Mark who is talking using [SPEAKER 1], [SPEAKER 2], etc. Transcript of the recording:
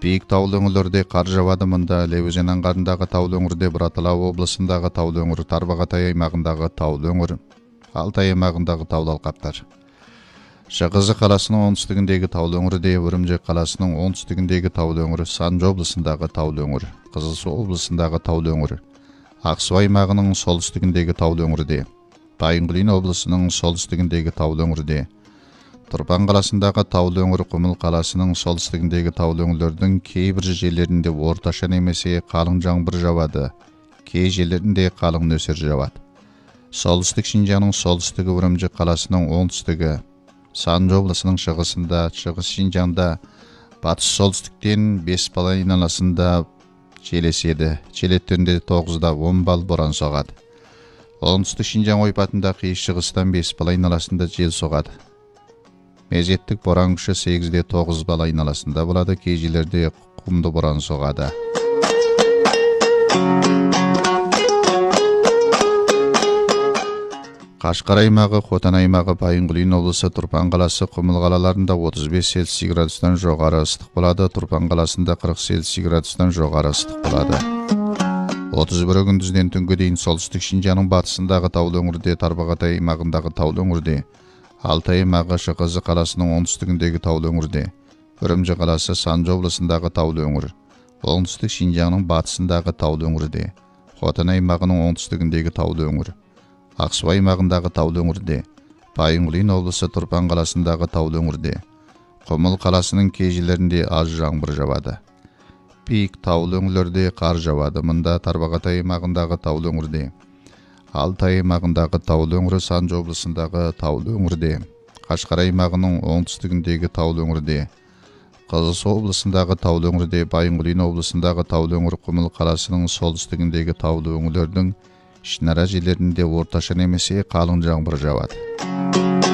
[SPEAKER 1] Бийик таулуу өңүрлөрдө кар жаабады. Мында Леб өзен аңгарындагы таулуу өңүрдө, Браталава областындагы таулуу өңүр, Тарбағатай аймагындагы таулуу өңүр, Алтай аймагындагы таулуу алкаптар. Жагызы каласынын оңтүстүгүндөгү таулуу өңүрдө, Өрүмжөк каласынын оңтүстүгүндөгү таулуу өңүр, Санжы областындагы таулуу өңүр, Кызыл Суу областындагы таулуу өңүр, Ак Суу аймагынын солтүстүгүндөгү таулуу өңүрдө, Байынгул областынын солтүстүгүндөгү таулуу өңүрдө, Турпан каласындагы таулуу өңүр, Кумул каласынын солтүстүгүндөгү таулуу өңүрлөрдүн кээ бир жерлеринде орточо немесе калың жаңбыр жаабады. Кээ жерлеринде калың нөсөр жаабат. Солтүстүк Шинжаңдын солтүстүгү, Өрүмжөк каласынын оңтүстүгү, Санжы областынын чыгысында, Чыгыс Шинжаңда, батыш солтүстүктөн 5 балл айналасында жел эседи. Жел өттөрүндө 9да 10 балл боран согат. Оңтүстүк Шинжаң ойпатында кыйыш чыгыстан 5 балл айналасында жел согат. Мезеттик боран күчү 8де 9 балл айналасында болот. Кээ жерлерде кумду боран согады. Кашкар аймагы, Хотан аймагы, Байынгул облусу, Турпан каласы, Кумул калаларында 35 Цельсий градустан жогору ыстык болот. Турпан каласында 40 Цельсий градустан жогору ыстык болот. 31 күндүздөн түнгө дейин солтүстүк Шинжаңдын батышындагы таулуу өңүрдө, Тарбағатай аймагындагы таулуу өңүрдө, Алтай аймагы, Жагызы каласынын оңтүстүгүндөгү таулуу өңүрдө, Өрүмжөк каласы, Санжы областындагы таулуу өңүр, оңтүстүк Шинжаңдын батышындагы таулуу өңүрдө, Хотан аймагынын оңтүстүгүндөгү таулуу өңүр, Ак Суу аймагындагы таулуу өңүрдө, Байынгул облусу, Турпан каласындагы таулуу өңүрдө, Кумул каласынын кээ жерлеринде аз жаңбыр жаабады. Бийик таулуу өңүрлөрдө кар жаабады. Мында Тарбағатай аймагындагы таулуу өңүрдө, Алтай аймагындагы таулуу өңүр, Санжы областындагы таулуу өңүрдө, Кашкар аймагынын оңтүстүгүндөгү таулуу өңүрдө, Кызыл Суу областындагы таулуу өңүрдө, Байынгул областындагы таулуу өңүр, Кумул каласынын солтүстүгүндөгү таулуу өңүрлөрдүн ишнара жерлеринде орточо немесе калың жаңбыр жаабат.